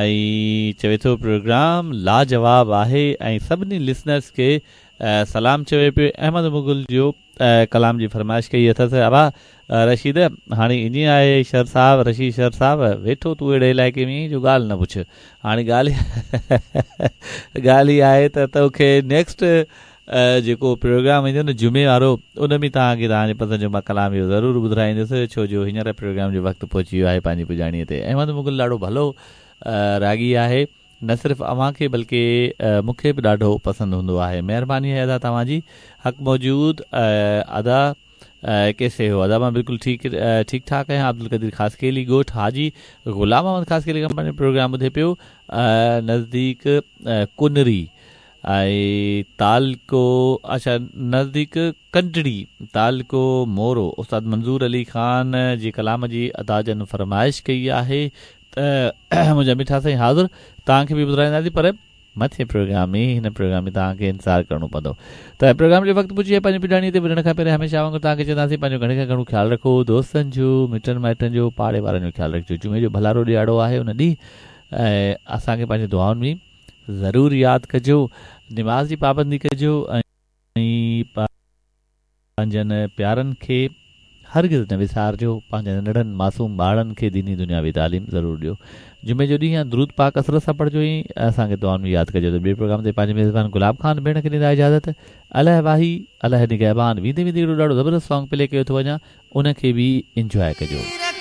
۽ چوي ٿو پروگرام لاجواب آهي ۽ سڀني لسنرس کي سلام چوي پيو احمد مغل جو ڪلام جي فرمائش ڪئي اٿس ابا رشيد هاڻي ائين آهي شر صاحب رشيد شر صاحب ويٺو تون اهڙي علائقي ۾ جو ڳالهه نه پڇ هاڻي ڳالهه ڳالهه هي آهي ته توکي نيڪسٽ جيڪو پروگرام ايندو نه جمعي وارو ان ۾ توهان کي توهان جي پسند جو مان ڪلام اهو ضرور ٻڌرائيندس ڇو جو هينئر پروگرام جو وقت پهچي ويو آهي پنهنجي پڄاڻي تي احمد مغل ڏاڍو ڀلو راڳي آهي نه صرف اوهان کي بلڪه مون کي به ڏاڍو پسند هوندو آهي مهرباني آهي ادا توهان جي حق موجود ادا ڪيسي هو ادا مان بلڪل ٺيڪ ٺيڪ ٺاڪ آهيان عبدالقدير خاصخيلي ڳوٺ حاجي غلام محمد خاصخيلي کان پنهنجو پروگرام ٻڌي پيو نزديڪ ڪنري ۽ تعلقو اڇا نزديڪ ڪنڊڙي تعلقو مورو استاد منظور علي خان جي ڪلام جي ادا جن فرمائش ڪئي آهي ته منهنجا مٺا سائين حاضر توهان کي به ٻڌرائينداسين پر مٿين پروگرام ۾ هن پروگرام ۾ توهان کي انتظار ڪرڻو پوندو ته پروگرام جو وقت پڄي پنهنجي پڄاڻي تي وڃڻ کان پهرين هميشه وانگر توهان کي چونداسين پنهنجو گهڻي کان گهڻو خيال رکو دوستن جو مٽن مائٽن جو پاڙي وارن جو خيال رکجو جمعي جو ڀلارو ڏيهاڙو آهي ان ڏينهن ۽ اسان کي پنهنجي دعائن ۾ ضرور ياد ڪجو نماز جي پابندي ڪجو ۽ پنهنجن پيارن کي هرگز نه وسارجو، پنهنجن ننڍڙن معصوم ٻارڙن کي ديني دنياوي تعليم ضرور ڏيو. جمعي جو ڏينهن درود پاڪ ڪثرت سان پڙهجو ۽ اسان کي دعائن ۾ ياد ڪجو ته ٻئي پروگرام تي پنهنجي ميزبان گلاب خان ڀيڻ کي ڏيندا اجازت. الله واهي الله نگهبان ويندي ويندي هڪڙو ڏاڍو زبردست سانگ پلي ڪيو ٿو وڃان ان کي به انجواء ڪجو.